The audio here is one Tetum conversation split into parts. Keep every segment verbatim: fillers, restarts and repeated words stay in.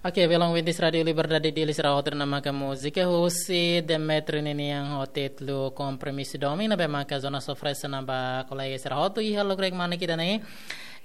Oke, belun ouvintes Rádiu Liberdade Dili sira hotu, ne'e maka múzika husi Demetrio ninian ho títulu Kompromisu Domin, ne'ebé maka Jonas oferese ona ba kolega sira hotu iha lokraik manik ida-ne'e.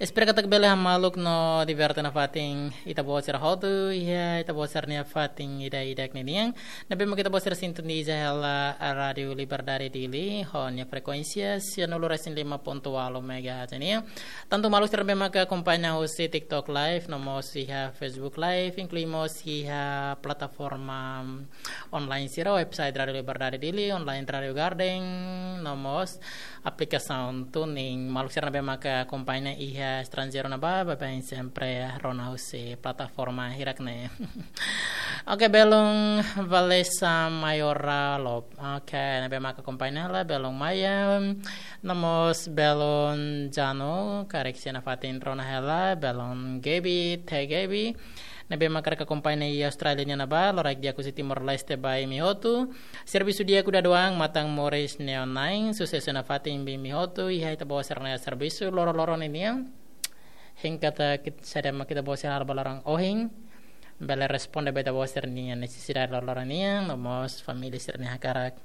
Espera katak bele hamaluk no diverte nafatin ita-boot sira hotu iha ita-boot sira-nia fatin ida-idak ninian. Ne'ebé maka ita-boot sira sintoniza hela Rádiu Liberdade Dili ho nia frekuénsia sianulu resin lima pontu ualu megahertz nian. Tantu maluk sira ne'ebé maka akompaña husi TikTok Live, no mós iha Facebook Live, inklui mós iha plataforma online sira, website Rádiu Liberdade Dili, online Rádiu Garden, no mós aplikasaun TuneIn. Maluk sira ne'ebé maka akompaña iha estranjeiru ne'ebá, baibain sempre rona husi plataforma hirak-ne'e. Oke, belun Valesa Mayora Lop. Oke, ne'ebé maka akompaña hela, belun Maya. No mós belun Jano, karik sira-nia fatin rona hela, belun Gaby, Teh Gaby. Ne'ebé maka akompaña iha Austrália nian ne'ebá, loraik di'ak husi Timor-Leste ba imi hotu. Servisu di'ak udan-udan, matan moris neon-na'in, susesu nafatin ba imi hotu iha ita-boot sira-nia servisu loroloron ninian. Hein katak kit-, saida mak ita-boot sira halo ba loron ohin, bele responde ba ita-boot sira-nia nesesidade loroloron nian, no mós família sira-nia hakarak.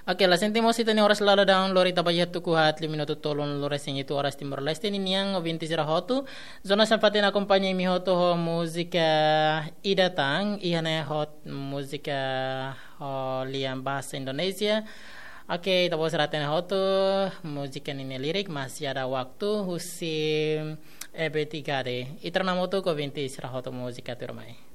Oke, la sente mós ita-nia oras lala daun, lori taba iha tuku haat liu minutu tolunulu resin hitu oras Timor-Leste ninian, ouvintes sira hotu. Jonas nafatin akompaña imi hotu ho múzika ida tan, iha ne'e ho múzika ho lian bahasa Indonesia. Oke, ita-boot sira hatene hotu, múzika ninia lirik Masih Ada Waktu husi Ebit Ghade. Ita rona hamutuk, ouvintes sira hotu, múzika tuirmai.